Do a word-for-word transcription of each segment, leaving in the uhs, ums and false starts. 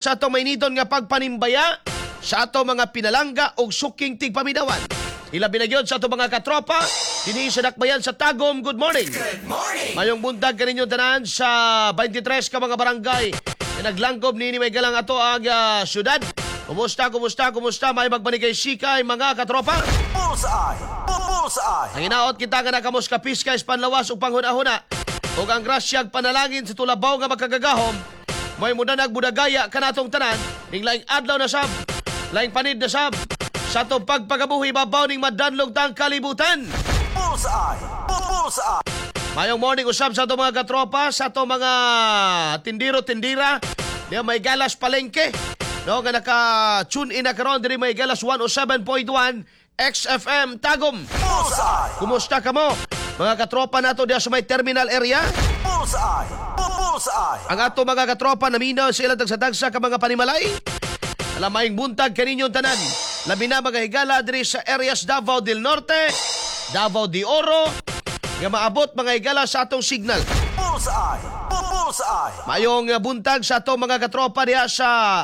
Sa atong mainiton nga pagpanimbaya sa ato mga pinalangga og suking tigpaminawan. Ilabi na gyud sa ato mga katropa dinhi sa Dakbayan sa Tagum. Good morning. Good morning. Mayong buntag kaninyo tanan sa twenty-three ka mga barangay na naglangkob niini may galang ato ang ah, syudad. Kumusta, kumusta, kumusta? May magpanikay sikay, mga katropa. Bullseye. Bullseye. Ang hinaot kita nga nakamos kapiskay sa panlawas ug panghuna-huna ug ang grasyag panalangin sa tulabaw nga makagagahom may mudanag budagaya kanatong tanan ning laing adlaw na sab, laing panid na sab sa atong pagpagabuhi babaw ning madanlog tang kalibutan. Bullseye. Bullseye. Mayong morning usab sa atong mga katropa, sa atong mga tindiro-tindira, diya may galas palengke. No, nga naka-tune in na karon diri may galas one oh seven point one X F M Tagum. Bullseye. Kumusta kamo? Mga katropa nato diya sa may terminal area. Bullseye. Bullseye. Ang ato mga katropa naminaw sa ilang tagsa-tagsa ka mga panimalay. Alamaing buntag kaninyong tanan. Labi na mga higala diri sa areas Davao del Norte, Davao de Oro, nga maabot, mga higala, sa atong signal. Bullseye. Bullseye. Mayong buntag sa atong mga katropa diha sa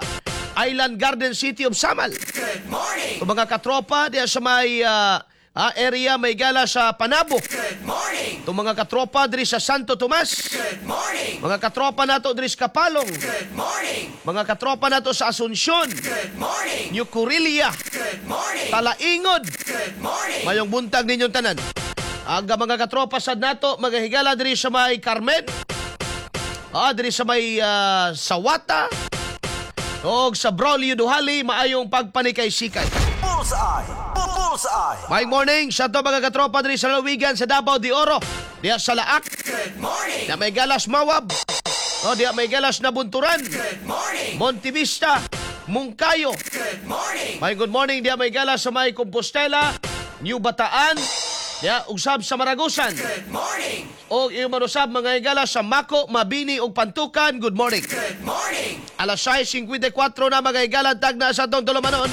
Island Garden City of Samal. Good morning. O mga katropa diha sa may ah, ah, area may gala sa Panabo. Good morning. Itong mga katropa diri sa Santo Tomas. Good morning. Mga katropa nato diri sa Kapalong. Good morning. Mga katropa nato sa Asuncion, Good morning. New Corilia, Good morning. Talaingod. Good morning. Mayong buntag ninyong tanan. Aga mga katropa sad nato, mga higala diri sa may Carmen. Ah, diri sa may ah, Sawata. Og sa Braulio Duhali, maayong pagpanikay sikay. Bullseye. Bullseye. May morning sa ato mga katropa diri sa lalawigan sa Davao de Oro. Diha sa Laak, Good morning. diha may galas Mawab. O diha may galas na Bunturan, Good morning. Montevista, Mungkayo. Good morning. May good morning diha may galas sa may Compostela, New Bataan, diha usab sa Maragusan. Good morning. O iyong manusab mga higala sa Mako, Mabini ug Pantukan. Good morning. Good morning. Alas sais singkwenta y kwatro na, mga higala, tagna sa atong tulumanon.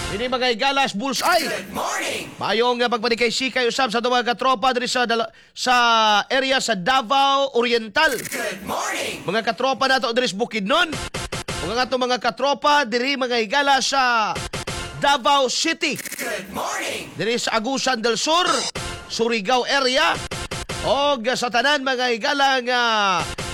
Ini, mga higalas, Bullseye. Good morning. Maayong nga pagpanikay sikay usab sa atong mga katropa diri sa dala- sa area sa Davao Oriental. Good morning. Mga katropa nato diri sa Bukidnon. Mga atong mga katropa diri, mga higala, sa Davao City. Good morning. Diri sa Agusan del Sur, Surigao area. Og sa tanan, mga higala, nga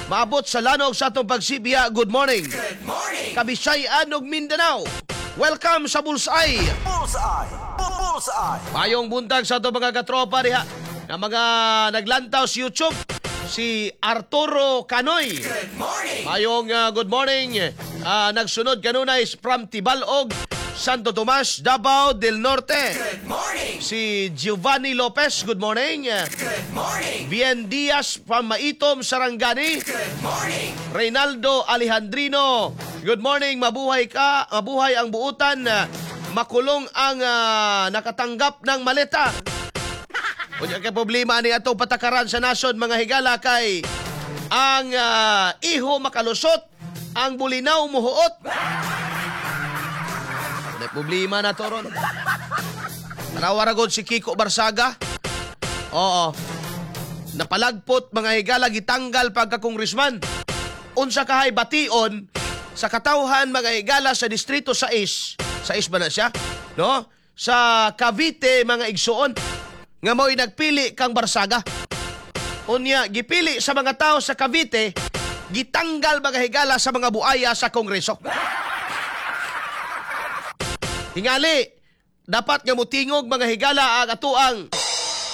maabot sa lanog sa atong pagsibya, good morning. Good morning. Kabisayan ug Mindanao. Welcome sa Bullseye. Bullseye. Bullseye. Mayong buntag sa atong mga katropa diha nga mga naglantaw sa YouTube. Si Arturo Canoy. Good morning. Mayong uh, good morning. Ah, nagsunod kanunay from Tibalog, Santo Tomas, Davao del Norte. Good morning. Si Giovanni Lopez, good morning. Good morning. Bien Diaz from Maitom, Sarangani. Good morning. Reynaldo Alejandrino, good morning, mabuhay ka, mabuhay ang buutan, makulong ang ah, nakatanggap ng maleta. Unya kay problema ni atong patakaran sa nasod, mga higala, kay ang ah, iho makalusot, ang bulinaw muhuot. May problema na to ron. Tanawa ra gud si Kiko Barsaga. Oo. Napalagpot, mga higala, gitanggal pagka congressman. Unsa kahay bation sa katawhan, mga higala, sa distrito sais. sais ba na siya? No? Sa Cavite, mga igsuon, nga mao'y nagpili kang Barsaga. Unya gipili sa mga tao sa Cavite, gitanggal, mga higala, sa mga buaya sa Kongreso. Tingali, dapat nga mutingog, mga higala, ang atuang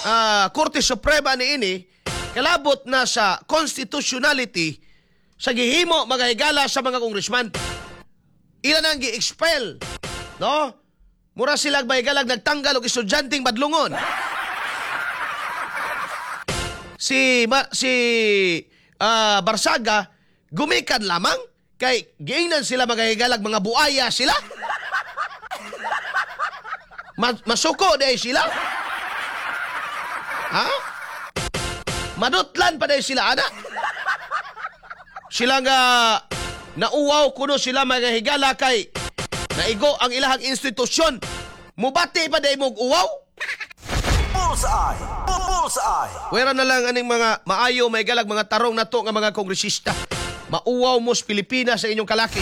ah, Korte Suprema niini kalabot na sa constitutionality sa gihimo, mga higala, sa mga congressman. Ilan ang gi-expel, no? Mura sila, mga higala, nagtanggal og estudyanteng badlungon. Si ma, si ah, Barsaga gumikan lamang kay giingnan sila, mga higalag, mga buaya sila. Ma- masuko di sila. Ha? Madutlan pa diay sila ana. Sila nga nauwaw kuno sila, mga higala, kay naigo ang ilahang institusyon. Mubati pa diay mog uwaw? Bullseye. Bullseye. Wera na lang aning mga maayo may galag mga tarong nato nga mga kongresista. Mauwaw mo sa Pilipinas sa inyong kalaki.